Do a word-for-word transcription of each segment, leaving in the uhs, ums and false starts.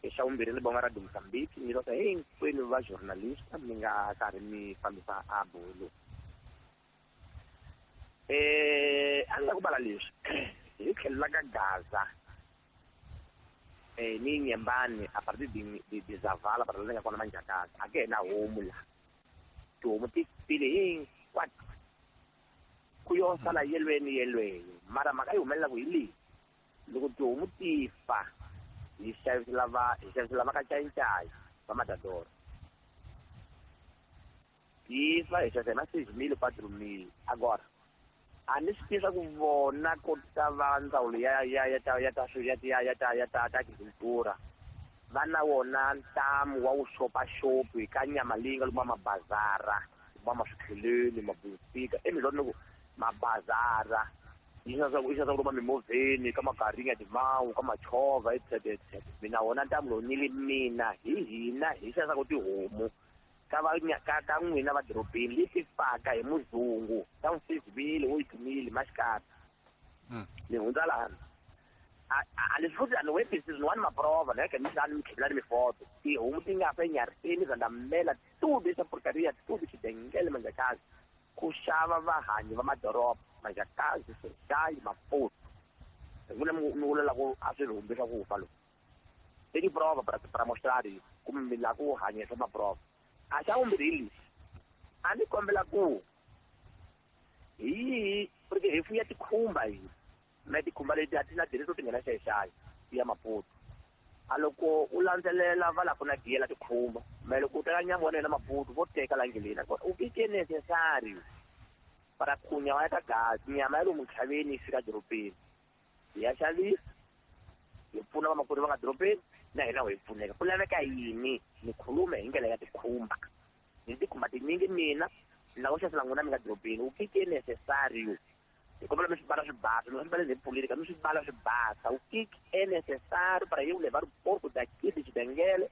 Xa vumbirhi ni bonga Radio Mozambique ni lota hinkwenu va journalista mi nga karhi mi fambisa a bolo. Eh a ni la ku bala leswi hi tlhelo la ka Gaza eh ni Nyembani a partir de de, de Zavala para la nga kona Manjakazi a ke na homu la tihomu ti file hinkwato ku yo sala yelweni yelweni mara mhaka yi humelela ku hi leyi loko tihomu ti fa hi xavisela va hi xavisela va ka Ncayincayi va Matador ti fa hi xavisa hi ma seis mil quatro mil agora a ni swi tivi ku vona ko ta va ndzawulo ya ya ya ta ya ta ya ya ya ta ya ta ta agricultura va na wona ntamu wa vuxopaxopi ka nyama leyi nga luma mabazara luma maswikheleni mabusika emizwa ni ku mabazara yi xavisa yi xavisa luma mimovheni ka magaringa timawu ka machovha etc etc mina wona ntamu lowu ni li mina hi hina hi xavisaka tihomu ka va ka ka n'wina va dorobeni leti faka hi muzungu ta six mil oito mil maxikata ni hundza lana a a leswi futhi a ni webisi ni wani maprova na yeke ni ni mi tlhela ni mifoto tihomu ti nga fa enyariseni zandamela tudo essa porcaria tudo xidengele Manjakazi ku xava vahanyi va madoroba Manjakazi Xai Maputo n'wina mi vula ku a swi humbi swa ku fa loku i tiprova para para mostrar kumbe mi lava ku hanyisa maprova a xa vumbirhi hi lexi a ni kombela ku hi yihi porque hi fuya tikhumba hina na tikhumba leti a ti na dirito ti nghena xayi ya Maputo a loko u landzelela va la ku na giyela tikhumba me loko u teka nyama wa yena Maputo vo teka la ndleleni nakona u que é necessário para ku nyama ya ka gazi nyama ya lomu ntlhaveni yi fika dorobeni hi ya xavisa hi pfuna vamakwerhu va nga dorobeni na hina hi pfuneka ku laveka yini ni khulume hi ndlela ya tikhumba ni tikhumba tinyingi mina ni lava ku xavisela n'wina mi nga dorobeni u que é necessário hi kombela mi swi bala swi basa mi swi bala hi política mi swi bala swi basa o que é necessário para eu levar o porco daqui de Xidengele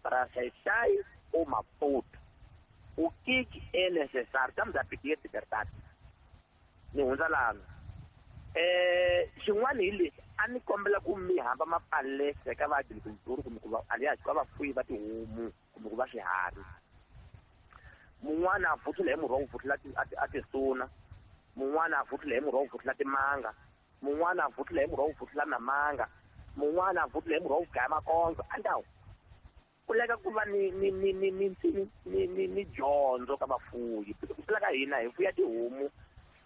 para Xai-Xai ou Maputo o que é necessário estamos a pedir liberdade ni hundza lana eh xin'wana hi lexi a ni kombela ku mi hamba mapalese ka va agriculture kumbe ku va alias ka vafuyi va tihomu kumbe ku va swiharhi mun'wana a vutlula hi murhi wa ku vutlula a tisuna mun'wana a vutlula hi murhi wa ku vutlula timanga mun'wana a vutlula hi murhi wa ku vutlula na manga mun'wana a vutlula hi murhi wa ku gaya makondzo andawu ku leka ku va ni ni ni ni ni ni ni ni dyondzo ka vafuyi ku tlula ka hina hi fuya tihomu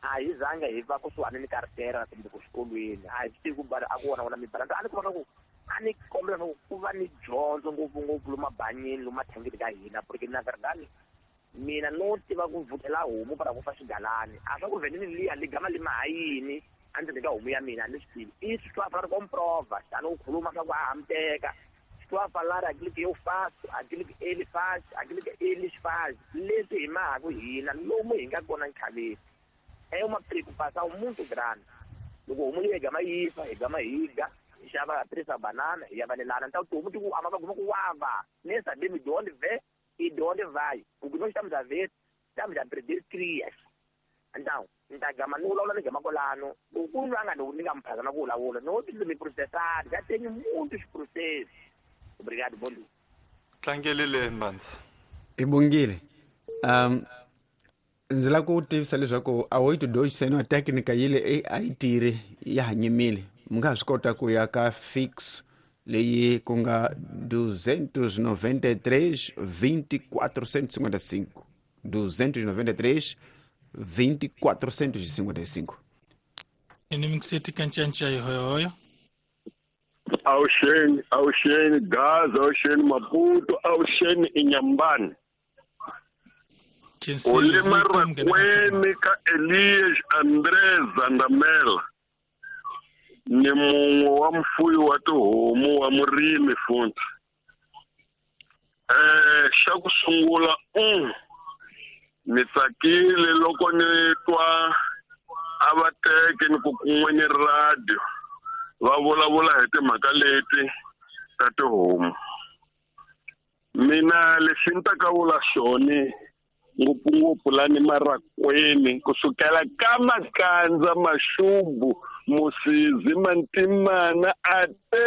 a hi zanga hi va kusuhani ni kartera kumbe ku xikolweni a hi swi tivi ku bala a ku wona wona mibala a ni kuma ku a ni kombela ku ku va ni dyondzo ngopfungopfu lomu mabanyini lomu mathangini ka hina porque na verdade mina no tiva ku vutela homu para ku fa xigalani a swa ku vhenini liya li gama li maha yini a ndzeni ka homu ya mina a ni swi tivi i swi twa fana comprova xana u khuluma swa ku a hamteka swi twa falar aquilo que eu faço aquilo que ele faz aquilo que eles faz leswi hi mahaku hina lomu hi nga kona nkhaveni é uma preocupação muito grande loko homu leyi hi gama yi fa hi gama hi ga hi xava três banana hi ya valelana então tihomu ti ku ama va guma ku wava nem sabemos de onde vem e de onde vai o que nós estamos a ver estamos a perder crias então ni ta gama ni vulavula ni gama kwalano loko ku ri a nga ni ni nga mi phazama ku vulavula no ti mi processar já tenho muitos processos obrigado bom dia tlangelile Mbanzi i bongile um ndzi lava ku tivisa leswaku a oito dois seno técnica yile a yi tirhi ya ha nyimile mi nga ha swi kota ku ya ka fix leyi ku nga duzentos noventa e três vinte e quatrocentos e cinquenta e cinco duzentos e noventa e três vinte e quatrocentos e cinquenta e cinco Inimixeti kancanca hoyo Awuxeni awuxeni Gaza awuxeni Maputo awuxeni Inhambane Ole Marrakweni ka Elias André Zandamela ni mun'we wa mfuyi wa tihomu wa murimi futhi eh xa ku sungula um ni tsakile loko ni twa a va teke ni ku kun'we ni radio va vulavula hi timhaka leti ta tihomu mina lexi ni ta ka vula xona ngopfungopfu lani Marrakweni kusukela ka Makandza Maxubu Musizi Mantimana ate